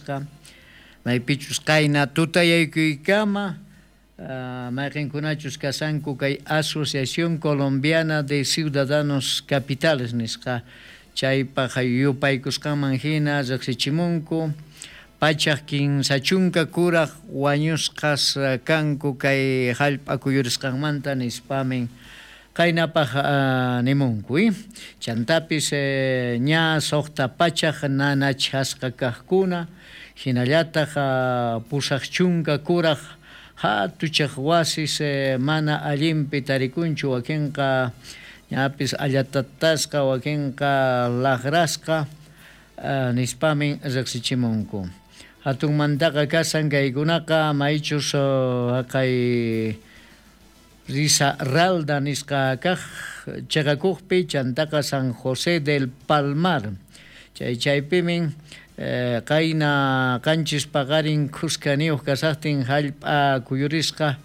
kasqa maypichus qayna tutayaykuykama mayqinkunachus kashanku kay Asociación Colombiana de Ciudadanos Capitales nisqa chaypaq yupaykusqanman hina riqsichimunku 130 kuraj wañusqas kanku kay hallp'a kuyurisqanmanta nispamin qaynapaq nimunku. Chantapis ña 600 nanachasqa kaqkuna hinallataq 80 kuraj hatuchaq wasis mana allinpi tarikunchu wakinqa ñapis allatatasqa wakinqa laqrasqa nispamin riqsichimunku. Hatunmantaqa kasan kaykunaqa maychus haqay Risaralda nisqa kaq chiqakuqpi chantaqa San José del Palmar chay chaypimin qayna qanchis paqarin khuskaniyuq kasaqtin hallp'a kuyurisqa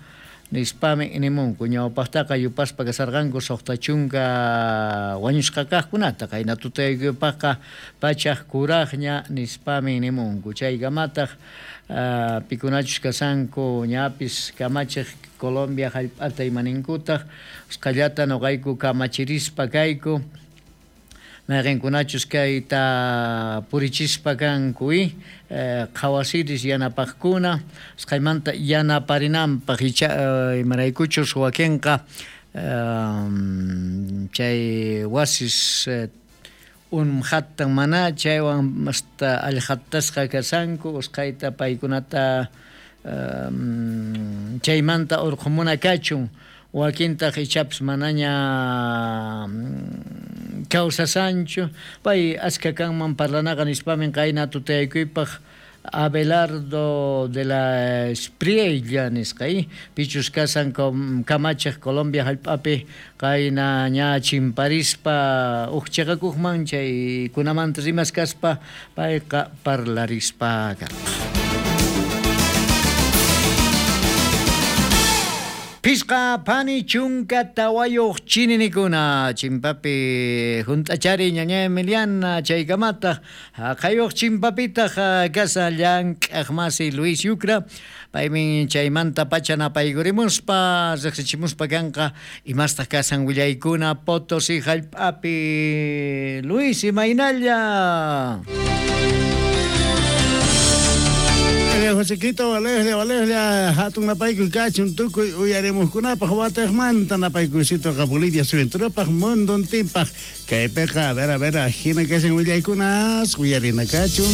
nispami nimunku ñawpaqtaqa yupaspa kasarqanku 60 wañusqa kaqkunata qayna tutayaykupaqqa 100 kuraqña nispami nimunku chaykamataq pikunachus kasanku ñapis kamachiq Colombia hallp'ata imaninkutaq usqhallata nuqayku kamachirispa kayku mayqinkunachus kayta purichispa kanku qhawasiris yanapaqkuna usqhaymanta yanaparinanpaq icha imaraykuchus wakinqa chay wasis unmhattan mana chaywan hasta allqatasqa kashanku usqhayta paykunata chaymanta urqhumuna kachun wakintaq ichapis manaña kawsasanchu pay aska kanman parlanaqa nispamin qayna tutayaykuypaq Abelardo de la Espriella nisqa pichus kasan kamachiq Colombia hallp'api qayna ña chimparispa uj chiqakuqman chaykunamanta rimaskaspa payqa parlarispa karqa. Pisqa pani chunka tawayuq chininikuna chimpapi hunt'achari ñaña Emiliana chaykamataq haqayuq chimpapitaq kasa llank'aq masi Luis Yucra paymin chaymanta pacha napaykurimuspa riqsichimuspa kanqa imastaq kasan willaykuna Potosí hallp'api. Luis, imaynalla? Josequito, Valeslia, Valeslia, hatun napaykuy kachun tukuy uyarimuqkunapaq wataqmanta napaykuycitoqa Bolivia suyunturapaq munduntinpaq kaypiqa a ver, hina kashan willaykunas uyarina kachun.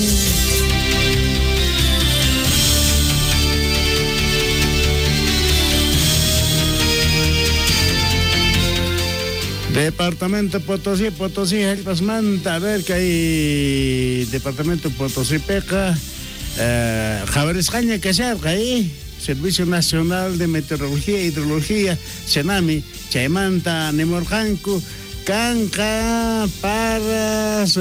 Departamento Potosí, Potosí, hallp'asmanta, a ver, kay Departamento Potosí piqa qhawarisqaña kasharqa Servicio Nacional de Meteorología e Hidrología, SENAMI, chaymanta nimurqanku kanqa paras,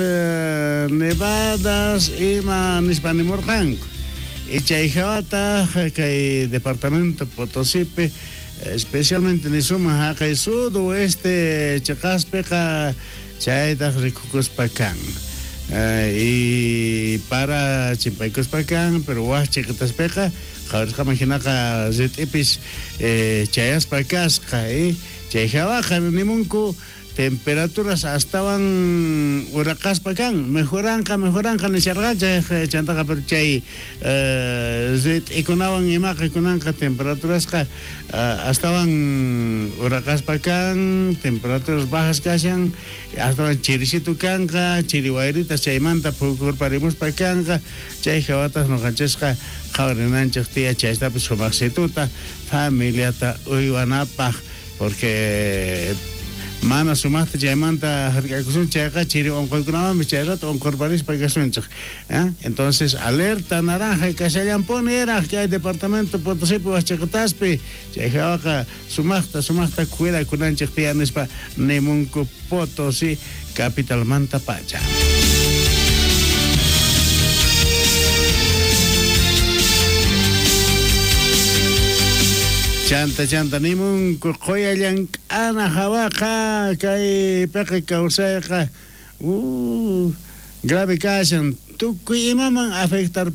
nevadas ima nispa nimurqanku. Y chay hawataq kay Departamento Potosípi especialmente nisuma haqay sudoeste chiqaspiqa chaytaq rikukuspa kan. Y para chimpaykuspa kan, pero waj chiqitaspiqa qhawarisqaman hinaqa rit'ipis chayaspa kasqa chay hawaqa nimunku temperaturas astawan uraqaspa kan, mejoranqa nisharqanchik chantaqa pero chay rit'ikunawan imaqa kunanqa temperaturasqa astawan uraqaspa kan, temperaturas bajas kashan, astawan chirisitu kanqa, chiri wayritas chaymanta phukurparimuspa kanqa, chay hawatas nuqanchisqa qhawarinanchik tiya chaytapis sumaqsituta familiata uywanapaq porque mana sumaqta chaymanta hark'akusun chayqa chiri unquykunawanmi chay rato unqurparispa kasunchik. Entonces alerta naranja kashallanpuni eraq kay Departamento Potosípi waqchiqitaspi chay hawaqa sumaqta cuidakunanchik tiyan nispa nimunku Potosí capitalmanta pacha. Chanta nimunku qoya llank'ana hawaqa kay piqa kawsayqa grave kashan tukuy imaman afectar.